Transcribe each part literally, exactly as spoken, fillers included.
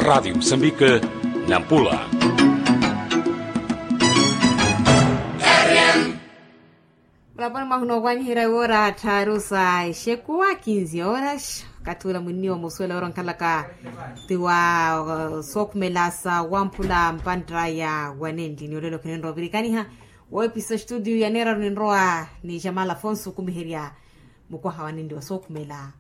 Raatio musambike, nampula. Mulaponi mwahu noowanyiherya iwoora tthaaru sa exekuwa kinzi ooras. Okathi ula mwinniwa musuwela woora onkhalaka ti wa sookhumela sa wamphula mpantta ya wanenli ni olelo khinenrowa ovirikaniha. Woopisa estudio ya neeraru ninrowa ni jamala afonso okumiherya mukwaha wanenli wa sookhumela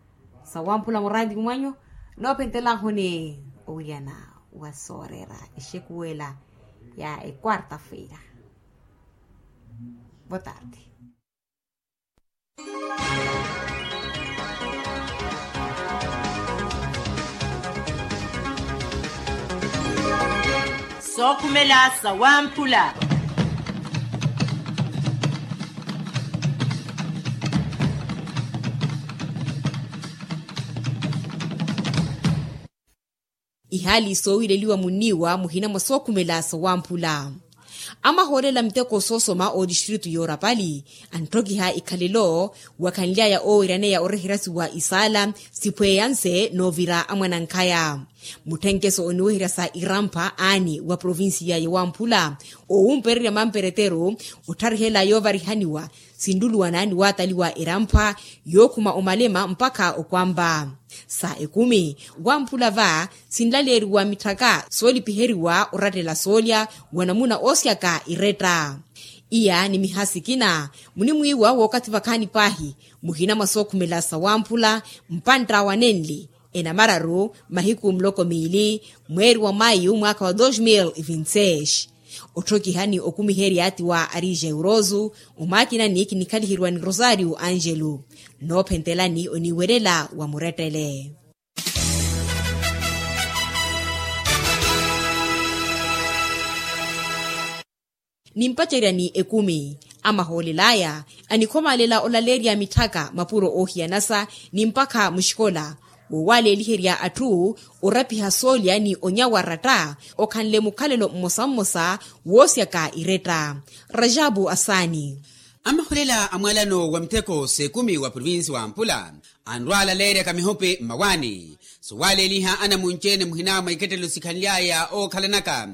sa wamphula muraati mwanyu. Noophentelahuni owiriyana wa sooreera exekuwela ya ekwarta feira. Botarde. Sookhumela sa wamphula. Ihaali soowileliwa munniiwa muhina mwa sookhumela sa wamphula. Amahoolela miteko soosoma oodistritu yoorapali anttokiha ikhalelo wakhanly'aya oowiryaneya oreheryasiwa isaala siphweyanse noovira amwanankhaya. Mutthenkeso oniweherya sa irampha aani wa provincia ya wamphula owumpererya mampereteru ottharihel'aya ovarihaniwa sinluluwana ni waataliwa eramphwa yookhuma omalema mpakha okwampa. Sa ekumi wamphula va sinlaleeriwa mitthaka soolipiheriwa orattela soolya wa namuna oosyaka iretta. Iya ni miha sikina munimwiiwa wookathi vakhaani paahi muhina mwa sookhumela sa wamphula mpantta wa nenli enamararu mahiku muloko miili mweeri wa mayu mwaakha wa dos mil e vinti seis. Otthokiha ni okumiherya ti wa arija euroso omwakinani kinikhaliheryiwa ni rosario angelo. Noophentelani oniiwelela wa murettele. Nimpaceryani ekumi amahoolel'aya anikhomaalela olaleerya mitthaka mapuro oohiyanasa ni mpakha muxikola wowaleeliherya atthu orapiha soolya ni onyawa ratta okhanle mukhalelo mmosa mmosa woosyaka iretta. Rajabu asaani. Amaholela a mwalano wa mitheko s'ekumi wa provinsi wa mpula anrwaalaleeryaka mihupi mmawaani sowaleeliha anamunci-ene muhina mwa ikettelo sikhanly'aya ookhalanaka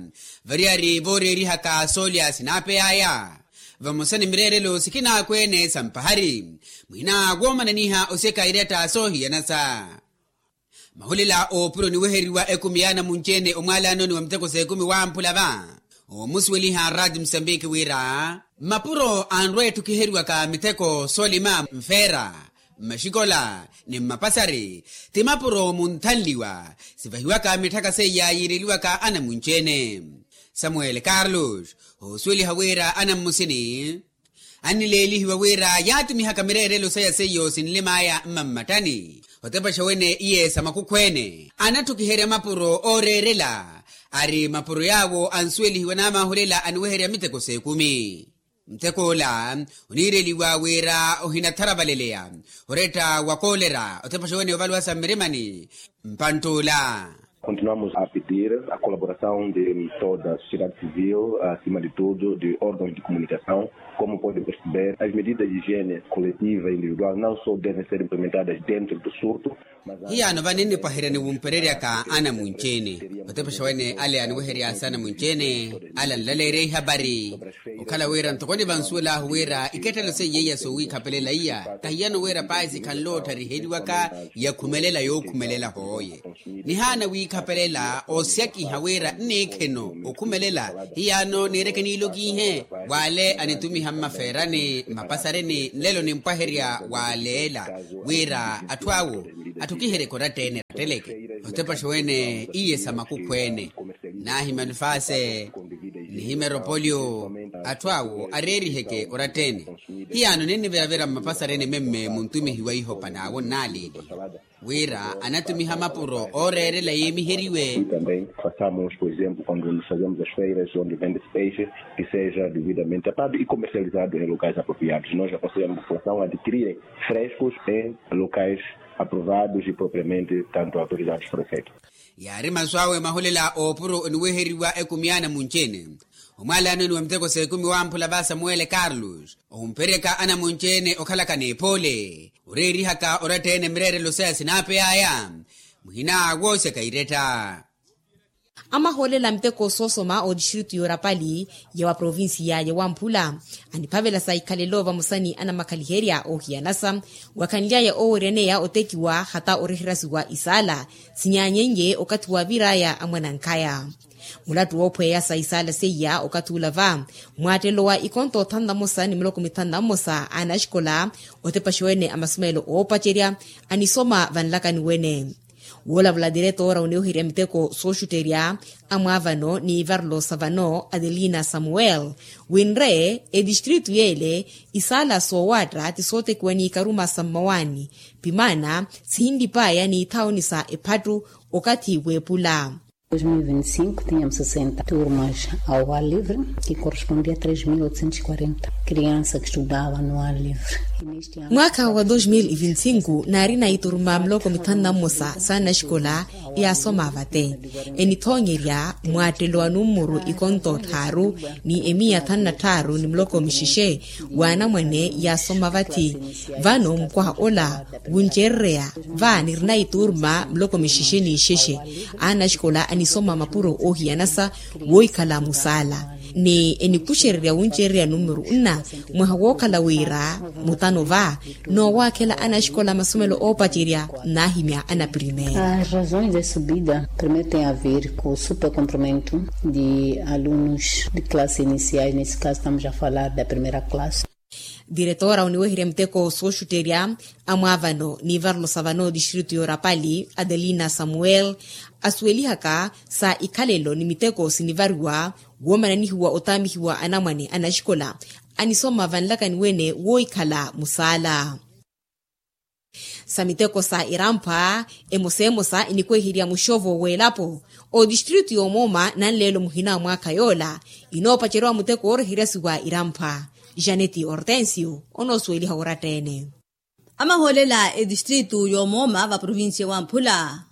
variyari vooreerihaka soolya sinaapey'aya vamosa ni mireerelo sikinaakweene sa mpahari muhina woomananiha osyeka iretta soohiyanasa. Mahulela oopuro niweheriwa ekumi y'anamunci-ene omwalanoni wa miteko s'ekumi wamphula va oomusuweliha rati musambiki wira mapuro anrwa etthukiheriwaka miteko soolima mfeera mmaxikola ni mmapasari ti mapuro munthanliwa sivahiwaka mitthaka seiya yiireliwaka anamunci-ene. Samuel carlos oosuweliha wira anammusini annileelihiwa wira yaatumihaka mireerelo saya seiyo sinlim'aya mmammattani otepaxa wene iye sa makukhw'ene anattukiherya mapuro ooreerela ari mapuro yaawo ansuwelihiwa n'amahulela aniweherya miteko s'ekumi. Muteko ola oniireliwa wira ohinatharavaleleya oretta wa koolera otepaxa wene ovaluwasa mmirimani mpantt'ola. Continuamos a pedir a colaboração de toda a sociedade civil acima de tudo de órgãos de comunicação. Como pode perceber as medidas de higiene coletiva e individual não só devem ser implementadas dentro do surto. Hiyano vani nnipwaheryani wumpereryaka anamunci-ene otepexa wene ale aniweheryasa anamunci-ene ale anlaleerya ihapari okhala wira ntoko nivansuwelahu wira ikettelo seiya iya soowiikhapelela iya tahiyano wira pahi sikhanle oottariheliwaka yakhumelela yookhumelela hooye. Nihaana wiikhapelela oosyakiha wira nniikheno okhumelela hiyano niireke niilokiihe w'ale anitumiha mmafeerani mmapasareni nlelo nimpwaherya w'aleela wira atthu awo atthukiheryeke oratta-ene ratteleke. Otepaxa wene iye sa makukhw'ene nahima nifase nihima eropoliyo atthu awo areeriheke oratta-ene. Hiyano ninniviravira mmapasareni memme muntumihiwa ihopa n'awo nnaaleeliha wira anatumiha mapuro ooreerela yeemiheriwe. Também façamos por exemplo quando nos fazemos as feiras onde vende-se peixe que seja devidamente tapado e comercializado em locais apropriados nós aconselhamos a população a adquirirem frescos em locais aprovados e propriamente tanto autorizados por efeito. Yaari masu awe mahulela oopuro oniweheriwa ekumi y'anamunci-ene omwalanoni wa miteko s'ekumi wamphula va samuwele carlos ohumperyaka anamunci-ene okhalaka n'epoole oreerihaka oratta-ene mireerelo saya sinaapey'aya muhina woosyaka iretta. Amahoolela a miteko soosoma otistritu y'orapali ya wa provincia ya wamphula aniphavela sa ikhalelo vamosa ni anamakhaliherya oohiyanasa wakhanly'aya ooweryaneya otekiwa hata oreherasiwa isaala sinyaanyenye okathi waavir'aya amwanankhaya. Mulattu woophweya sa isaala seiya okathi ula va mwaattelo wa ikonto othanu na mmosa ni miloko mithanu na mmosa a anaxikola otepaxa wene a masumeelo oopacerya anisoma vanlakani wene. Woolavula diretora oneweherya miteko sooxutterya amwaavano ni ivarlo sa vano adelina samuel winre etistritu yeele isaala soowaatta ti sootekiwa ni ikaruma sa mmawaani pimaana sihinlip'aya ni ithaoni sa ephattu okathi weepula. Dois mil e vinte e cinco tínhamos sessenta turmas ao ar livre, que correspondia a três mil oitocentos e quarenta crianças que estudavam no ar livre. Mwaakha wa dos mil e vinte e cinco naarina ituruma miloko mithanu na mmosa sa anaxikola yaasoma vate enithoonyerya mwaattelo wa nummuru ikonto tthaaru ni emiya thanu na tthaaru ni miloko mixexe w'anamwane yaasoma vathi. Vano mukwaha ola wuncererya va nirina ituruma miloko mixexe ni ixexe a anaxikola anisoma mapuro oohiyanasa woohikhala musaala ni enikuxererya wuncererya nummuru nna mwaha wookhala wira mutano va noowaakhela anaxikola masomelo oopacerya naahimya anaprimera. As razões de subida primeiro tem a ver com o supercomprimento de alunos de classe iniciais nesse caso estamos a falar da primeira classe. Diretora oniweherya miteko sooxutterya amwaavano n'ivarelo sa vano distritu y'orapali adelina samuel asuwelihaka sa ikhalelo ni miteko sinivariwa woomananihiwa otaamihiwa anamwane anaxikola anisoma vanlakani wene woohikhala musaala. Sa miteko sa iramphwa emosa emosa inikweherya muxovo w'elapo otistritu y'omooma nanleelo muhina a mwaakha yoola inoopaceriwa muteko ooreheryasiwa iramphwa. Janeti hortensio onoosuweliha oratta-ene. Amahoolela etistritu y'omooma va provincia wamphula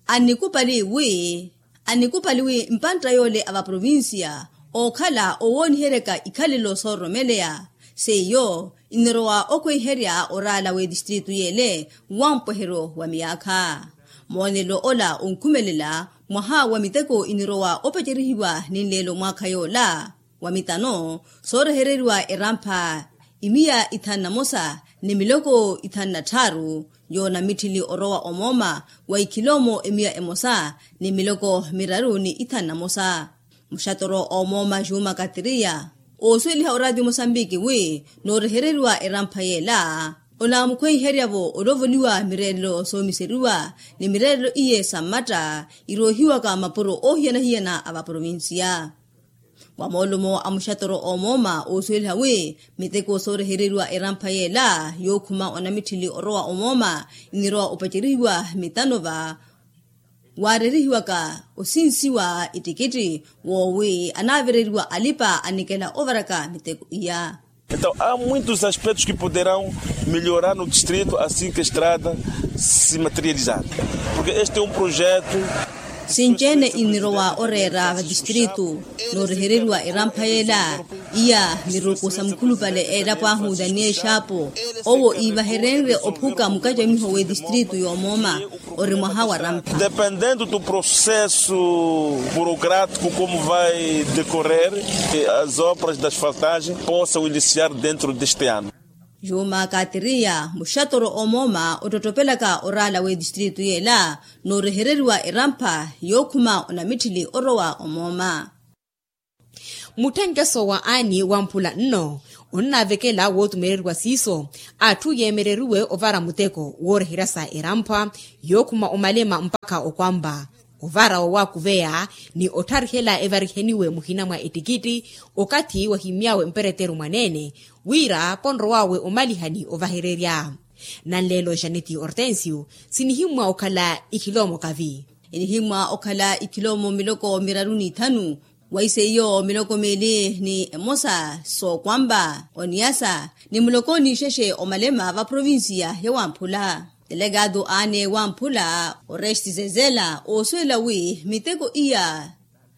annikupali wi annikupali wi mpantta yoole a va provincia ookhala owooniheryaka ikhalelo soororomeleya seiyo inirowa okhweiherya oraala w'etistritu yeele wa mpweheryo wa miyaakha. Moonelo ola onkhumelela mwaha wa miteko inirowa opacerihiwa ni nleelo mwaakha yoola wa mitano soorehereriwa erampha imiya ithanu na mosa ni miloko ithanu na tthaaru yoonamitthili orowa omooma wa ikhiloomo emiya emosa ni miloko miraru ni ithanu na mosa. Muxatoro omooma juma katriya oosuweliha oraati mosambiki wi noorehereriwa erampha yeela onaamukhweiherya-vo olovoliwa mireerelo soomiseriwa ni mireerelo iye sa mmatta iroohiwaka mapuro oohiyana-hiyana a va provincia. Wa moolumo a muxatoro omooma oosuweliha wi miteko soorehereriwa erampha yeela yookhuma onamitthili orowa omooma inirowa opacerihiwa mitano va waareerihiwaka osinsiwa ittikitthi woowi anaavereriwa alipa anikela ovaraka miteko iya. Entaw há muitos aspectos que poderão melhorar no distrito assim que a estrada se materializar, porque este é um projeto. Sinci-ene inirowa oreera va distritu noorehereriwa erampha yeela iya miruku sa mukhulupale eelapo ahu daniel xaapo owo iivaherenrye ophuka mukacamiho w'etistritu y'omooma ori mwaha wa rampha. Dependendo do processo burocrático como vai decorrer, as obras da asfaltagem possam iniciar dentro deste ano. Juma katriya muxatoro omooma ottottopelaka oraala w'etistritu yeela noorehereriwa erampha yookhuma onamitthili orowa omooma. Mutthenkeso wa aani wamphula nno onnaavekela wootumereriwa siiso atthu yeemereriwe ovara muteko wooreherya sa eramphwa yookhuma omalema mpakha okwampa ovara woowakuveya ni ottharihela evariheniwe muhina mwa ettikitti okathi wahimy'awe mpereteru mwaneene wira ponrow'awe omalihani ovahererya. Nanleelo janeti hortensio sinihimmwa okhala ikhiloomo kavi. Inihimmwa okhala ikhiloomo miloko miraru n'ithanu wa iseiyo miloko miili ni emosa sookwampa oniyasa ni muloko n'ixexe omalema va provincia ya wamphula. Telekatu aane wamphula oresti zezela oosuwela wi miteko iya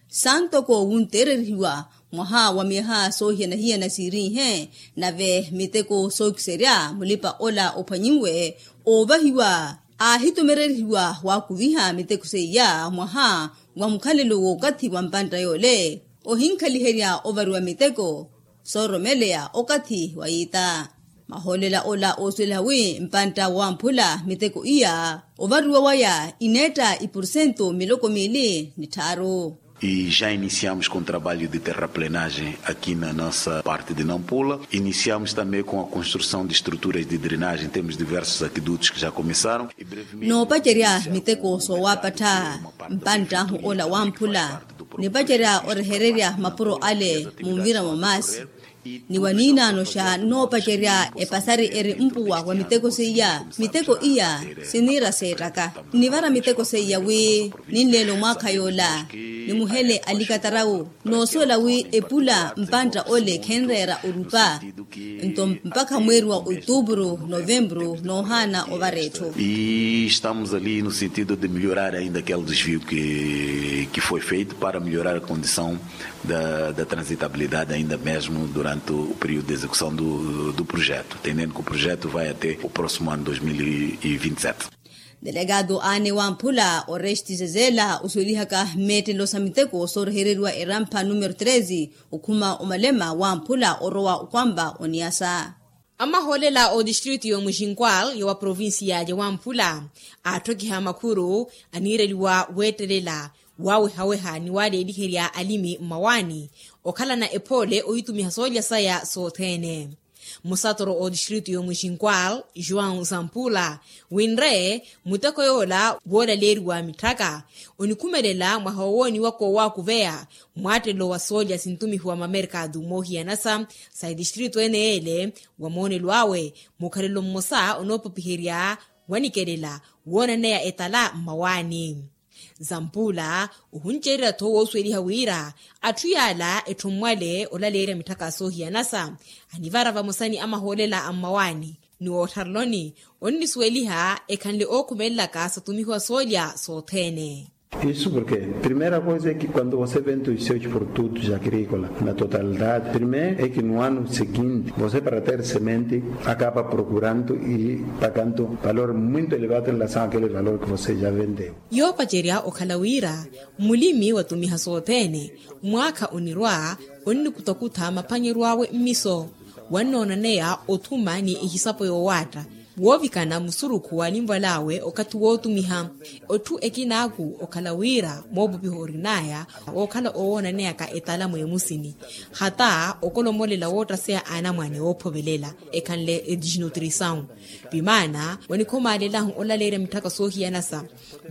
santoko wunteererihiwa mwaha wa myaha soohiyana-hiyana siiriihe nave miteko sookiserya mulipa ola ophwanyinwe oovahiwa Aahitumererihiwa waakuviha miteko seiya mwaha wa mukhalelo w'okathi wa mpantta yoole ohinkhaliherya ovariwa miteko sooromeleya okathi wa yiita. Mahoolela ola oosuweliha wi mpantta wamphula miteko iya ovariwa waya ineetta ipursento miloko miili ni tthaaru. E já iniciamos com trabalho de terraplenagem aqui na nossa parte de nampula. Iniciamos também com a construção de estruturas de drenagem temos diversos aquedutos que já começaram. Noopacerya miteko soowapattha mpanttahu ola wamphula nipacerya orehererya mapuro ale munvira mwa maasi. Ni waniinaano xa noopacerya epasari eri mpuwa wa miteko seiya miteko iya siniira seettaka. Nivara miteko seiya wi ninleela omwaakha yoola nimuhele alikatarawu noosuwela wi epula mpantta ole khenreera orupa. Nto mpakha mweeri wa otuupuru novempuru noohaana ovara etthu. E estamos ali no sentido de melhorar ainda aquele desvio que foi feito para melhorar a condição da transitabilidade ainda mesmo durante o período de execução do projeto, entendendo que o projeto vai até o próximo ano dois mil e vinte e sete. Delegado aane wamphula oreste zezela osuwelihaka mmeettelo sa miteko soorhereriwa erampha numero treze okhuma omalema wamphula orowa okwampa oniyasa. Amahoolela otistritu y'omuxinkwal y'owa provincia y'owamphula aatthokiha makhuru aniireliwa weettelela wawehaweha ni waleeliherya alimi mmawaani okhalana ephoole ohitumiha soolya saya sothene. Musatoro otistritu y'omuxinkwal joão zampula winre muteko yoola woolaleeriwa mitthaka onikhumelela mwaha wowooniwaka owaakuveya mwaattelelo wa soolya sintumihiwa mamerkatu moohiyanasa sa etistritu ene yeele wa moonelo awe mukhalelo mmosa onoopopiherya wanikelela woonaneya etala mmawaani. Zampula ohunceererya-tho woosuweliha wira atthu yaala etthu mmwale olaleerya mitthaka soohiyanasa anivara vamosa ni amahoolela a mmawaani ni wootthareloni onnisuweliha ekhanle ookhumelelaka satumihiwa soolya sothene. Isso porque primeira coisa é que quando você vende os seus produtos agrícolas na totalidade primeiro é que no ano seguinte você para ter semente acaba procurando e pagando valor muito elevado em relação àquele valor que você já vendeu. Yoopacerya okhala wira mulimi watumiha sothene mwaakha onirwa onnikutakutha maphanyeryo awe mmiso wannoonaneya othuma ni ehisapo yoowaatta woovikana musurukhu wa alinval'awe okathi wootumiha. Otthu ekinaaku okhala wira moopupiha orin'aya ookhala owoonaneyaka etala mweemusini hata okolomolela woottaseya anamwane oophovelela ekhanle edisnutrisaw. Vimaana wanikhomalelahu olaleerya mitthaka soohiyanasa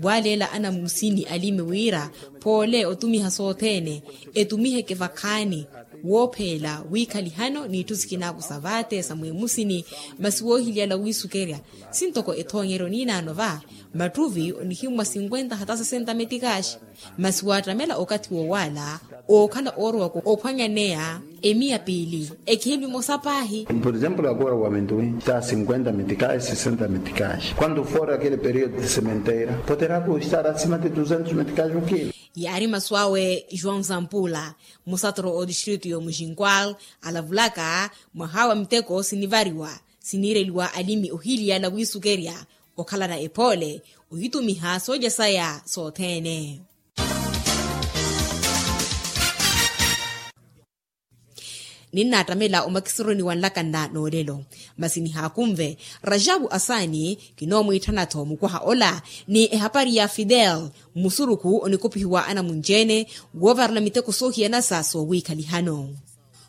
waaleela anamusini alimi wira phoole otumiha sothene etumiheke vakhaani woopheela wiikhalihano n'itthu sikinaaku sa vaateesa mweemusini. Masi woohiliyala wiisukerya sintoko ethoonyeryo niinaano va matthuvi onihimmwa sinkwenta hata sesenta metikaxi. Masi waattamela okathi woowaala ookhala oorowaka ophwanyaneya emiya piili ekihimbi mosa paahi. Por exemplo agora wamentuwi ta sinkwenta metikaxi sesenta metikaxi quando for aquele periodo de sementeira poderá estar acima de duzentos metikaxi okilo. Yaari masu awe joão zampula musatoro otistritu y'omuxinkwal alavulaka mwaha wa miteko sinivariwa siniireliwa alimi ohiiliyala wiisukerya okhalana ephoole ohitumiha soolya saya sothene. Ninnaattamela omakisuruni wa nlakanna n'olelo masi nihaakunve rajabu asaani kinoomwiitthana-tho mukwaha ola ni ehapari ya fidel musurukhu onikopihiwa anamunci-ene woovarela miteko soohiyanasa soowiikhalihano.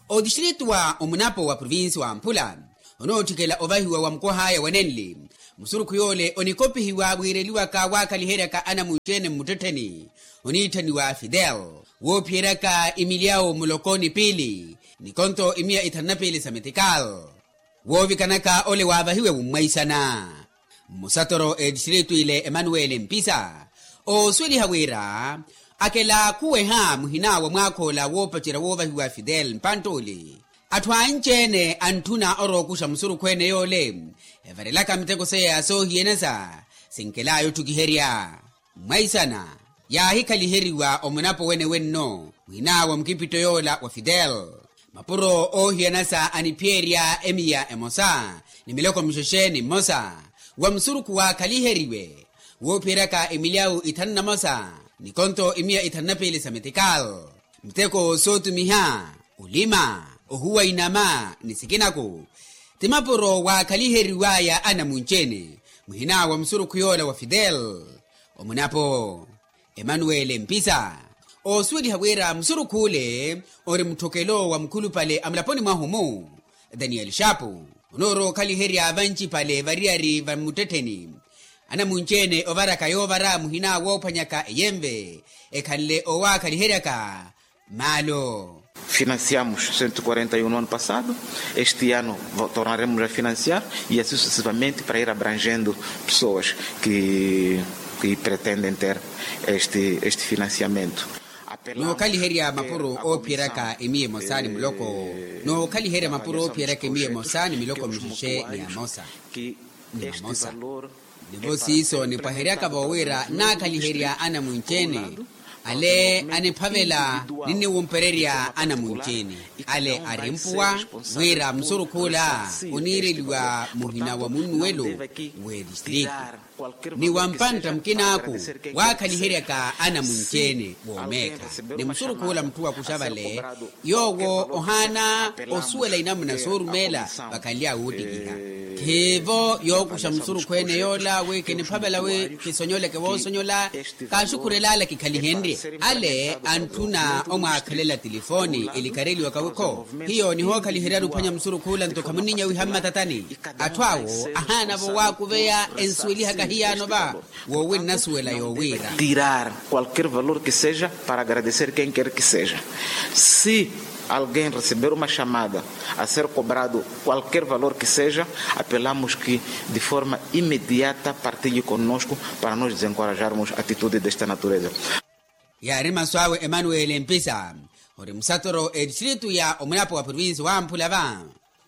Otistrito wa omunapo wa provincia wa mphula onootthikela ovahiwa wa mukwaha aya wa nenli musurukhu yoole onikopihiwa wiireliwaka waakhaliheryaka anamunci-ene mmuttettheni oniitthaniwa fidel woophiyeryaka imilyawo muloko ni piili ni konto imiya ithanu na piili sa metikal woovikanaka ole waavahiwe wummwaisana. Mmusatoro etistritu ile emanuweli mpisa oosuweliha wira akela khuweha muhina wa mwaakha ola woopacerya woovahiwa fidel mpantt'uli atthu anci-ene antthuna orookuxa musurukhu ene yoole evarelaka miteko seya soohiyenesa sinkelaya otthukiherya. Mmwaisana yaahikaliheriwa omunapo wene wenno muhina wa mukipitto yoola wa fidel mapuro oohiyanasa aniphiyerya emiya emosa ni miloko mixexe ni mmosa wa musurukhu waakhaliheriwe woophiyeryaka emilyawu ithanu na mosa ni konto imiya ithanu na piili sa metikal, miteko sootumiha, olima, ohuwa inama ni sikinaku, ti mapuro waakhaliheriwaya anamunci-ene muhina wa musurukhu yoola wa fidel. Omunapo emanuwele mpisa oosuweliha wira musurukh'ule ori mutthokelo wa mukhulupale a mulaponi mwahu-mu, daniyeli xaapu onoorowa okhaliherya vancipale variyari va mmuttettheni anamunci-ene ovaraka yoovara muhina woophwanyaka eyenve ekhanle owaakhaliheryaka maalo. Financiamos cento e quarenta e um no ano passado, este ano tornaremos a financiar e assim sucessivamente para ir abrangendo pessoas que pretendem ter este financiamento. Nookhaliherya mapuro oophiyeryaka emiya emosa ni muloko. Nookhaliherya mapuro oophiyeryaka emiya emosa ni miloko mixixe ni amosa. Ni amosa. Nivo siiso nipwaheryaka-vo wira naakhaliherya anamunci-ene ale aniphavela ninniwumpererya anamunci-ene ale arimpuwa wira musurukh'ula oniireliwa muhina wa munnuwelo w'edistritu ni wa mpantta mukin'aku waakhaliheryaka anamunci-ene woomeekha. Ni musurukh'ula mutthu wakuxa vale yoowo ohaana osuwela inamuna soorumeela vakhanly'awe woottikiha. Khiivo yookuxa musurukhu ene yoola wi kiniphavela wi kisonyoleke woosonyola kaaxukhurel'ala kikhalihenrye. Ale antthuna omwaakhelela tilifooni elikareliwaka wikho hiyo nihookhaliheryani ophwanya musurukh'ula nto khamunninya wiha mmatatani. Atthu awo ahaana-vo waakuveya ensuwelihaka hiyaano va woowinnasuwela yoowiira tirar qualquer valor que seja para agradecer quem quer que seja. Se alguém receber uma chamada a ser cobrado qualquer valor que seja, apelamos que de forma imediata partilhe conosco para nos desencorajarmos atitude desta natureza. Yaari masu awe emanuwele mpisa ori musatoro edistritu ya omunapo wa provinsi wamphula va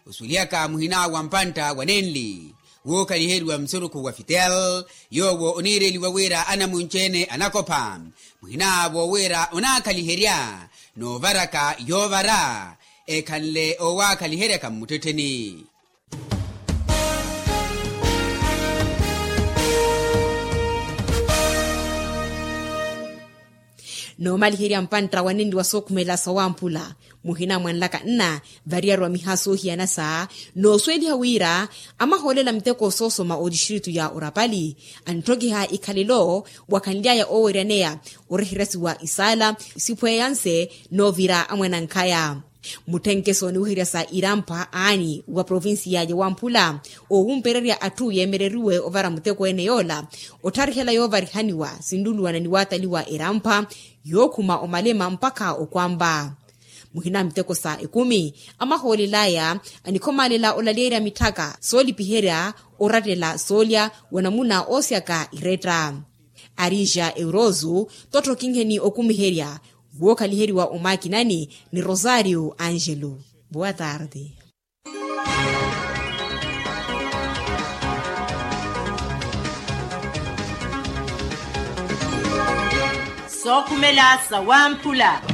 osuwelihaka muhina wa mpantta wa nenli wookhaliheriwa musurukhu wa fitel yoowo oniireliwa wira anamunci-ene anakopha muhin'awo wira onaakhaliherya noovaraka yoovara ekhanle owaakhaliheryaka mmuttettheni. Noomaliherya mpantta wa nenli wa sookhumela sawamphula muhina mwanlaka nna variyari wa miha soohiyana sa noosuweliha wira amahoolela miteko soosoma otistritu ya orapali antthokiha ikhalelo wakhanly'aya ooweryaneya oreheresiwa isaala siphweyanse noovira amwanankhaya. Mutthenkeso niweherya sa irampha aani wa provinsiya ya wamphula oowumpererya atthu yeemereriwe ovara muteko ene yoola ottharihela yoovarihaniwa sinluluwana ni waataliwa erampha yookhuma omalema mpakha okwampa. Muhina miteko sa ekumi amahoolel'aya anikhomalela olalyeerya mitthaka soolipiherya orattela soolya wa namuna oosyaka iretta. Arija eurozu tottho kinheni okumiherya wookhaliheriwa omaakinani ni rosario angelo. Boa tarde. Sookhumela sawamphula.